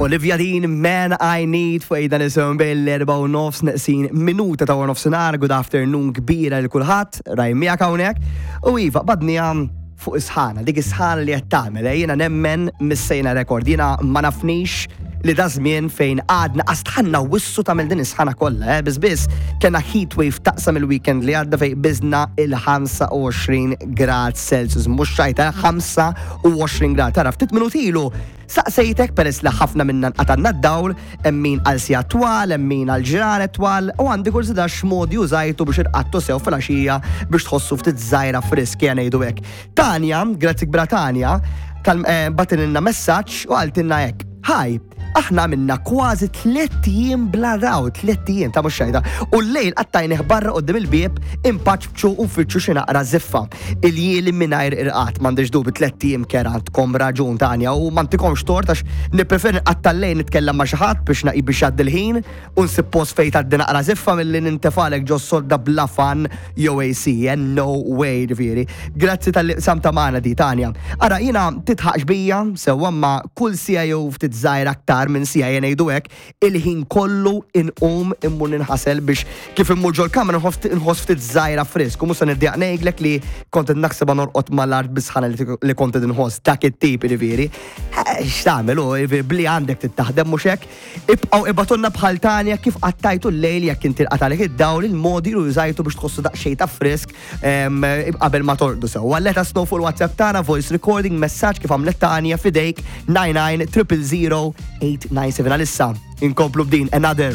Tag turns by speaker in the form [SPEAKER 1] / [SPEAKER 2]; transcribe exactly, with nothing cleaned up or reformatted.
[SPEAKER 1] Olivia Dean, Man I Need, fuq Ejda Nisimgħu bil-erbgħa u nofs neqsin minuta ta' nofsinhar. Good afternoon kbira lil kulħadd, Ryan miegħek hawnhekk. U iva, badnija fuq is-sħana, dik is-sħana li qed tagħmel, eh, jiena nemmen missejna rekord, jiena ma nafnix li da żmien fejn għadna qastħanna wissu tagħmel din is-sħana kollha, eh, biss biss kellna heat wave taqsam il-weekend li għadda fejn biżna il-ħamsa u għoxrin grad Celsius, mhux xajta, ħamsa u għoxrin grad. Tara, ftit minuti ilu saqsejtek, peress li ħafna minna nqatanna d-dawl, hemm min għal sigħat twal, hemm min għal ġranet twal, u għandi kurżità x'modi użajtu biex irqadtu sew fil-għaxija biex tħossu ftit żgħira frisk, jien ngħidu hekk. Tanja, grazzi kbira Tanja, tal- eh, bagħtitilna messaġġ u qaltilna hekk: "Hi, aħna minna kważi tlett ijiem bla dawl, tlett ijiem ta' mhux xajta. U l-lejl qattajnih barra quddiem il-bieb inpaċċu u nfittxu xi naqra ziffa. Iljieli mingħajr irqad." M'għandix dubi, tlett ijiem kerha, għandkom raġun, Tanja, u m'għantikomx tort għax nippreferi nqatta' l-lejl nitkellem ma' xi ħadd biex naqi biex jgħaddi l-ħin u nsib post fejn tgħaddi naqra ziffa milli nintefalek ġo sodda bla fan jew A C, and no way, ġifieri. Grazzi talli qsamtha magħna di, Tanja. Ara, jiena titħaqx bija, sewwa, ma kull siegħa jew ftit żgħira aktar minn siegħa, jien ngħidu hekk, il-ħin kollu inqum immur ninħasel biex kif immur ġol-kamra nħoss nħoss ftit żgħira frisk. U mhux se niddejjaq ngħidlek li kont qed naħseb norqod mal-art bis-sħana li li kont qed inħoss, dak it-tip ġifieri. Eh, X'tagħmel hu, ġifieri, bli għandek tittaħdem, mhux hekk? Ibqgħu ibagħtulna bħal Tanja kif qattajtu l-lejl jekk inti nqatalek id-dawl, il-modi li użajtu biex tħossu daqsxejn ta' frisk em, qabel ma torqdu sew. Let us know fuq il-WhatsApp tagħna, voice recording, messaġġ, kif għamlet Tanja, fidejk nine nine triple zero eight nine seven. Għalissa inkomplu b'din Another.